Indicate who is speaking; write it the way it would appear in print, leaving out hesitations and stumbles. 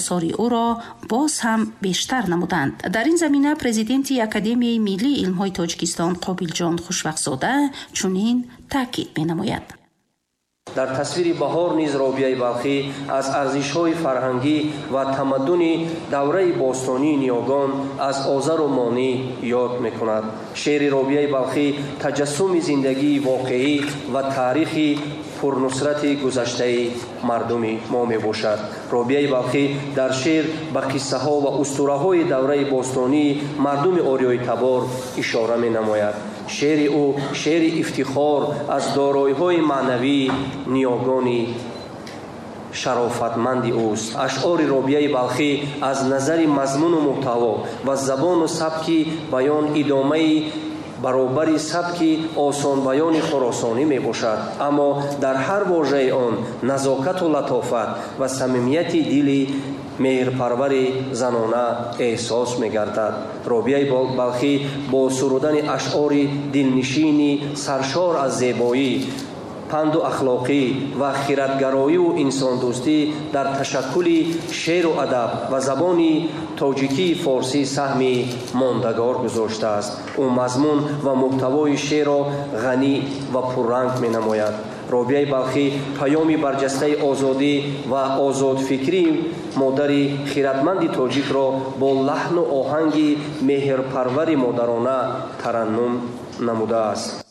Speaker 1: осори ӯро боз ҳам бештар намуданд. Дар ин замина президенти Академияи миллии илмҳои Тоҷикистон Қобилҷон Хушвақтзода чунин таъкид менамояд.
Speaker 2: Дар тасвири баҳор низ Робиаи Балхӣ аз арзишҳои фарҳангӣ ва тамаддуни давраи бостонии ниёгон, аз Озару Монӣ ёд мекунад. Шеъри Робиаи Балхӣ таҷассуми зиндагии воқеӣ ва таърихи пурнусрати гузаштаи мардуми мо мебошад. Робиаи Балхӣ дар шеър ба қиссаҳо ва устураҳои давраи бостонии мардуми ориёитабор ишора менамояд. Шеъри ӯ шеъри ифтихор аз дороиҳои маънавии ниёгони шарофатманди ӯст. Ашъори Робиаи Балхӣ аз назари мазмуну муҳтаво ва забону сабки баён идомаи баробари сабки осонбаёни хуросонӣ мебошад, аммо дар ҳар вожаи он назокату латофат ва самимияти дили меҳрпарвари занона эҳсос мегардад. Робиаи Балхӣ бо сурудани ашъори дилнишини саршор аз зебоӣ, панду ахлоқӣ ва хиратгароиву инсондӯстӣ дар ташаккули шеъру адаб ва забони тоҷикии форсӣ саҳми мондагор гузоштааст. Ӯ мазмун ва муҳтавои шеърро ғанӣ ва пурранг менамояд. Робиаи Балхӣ паёми барҷастаи озодӣ ва озодфикрии модари хиратманди тоҷикро бо лаҳну оҳанги меҳрпарвари модарона тараннум намудааст.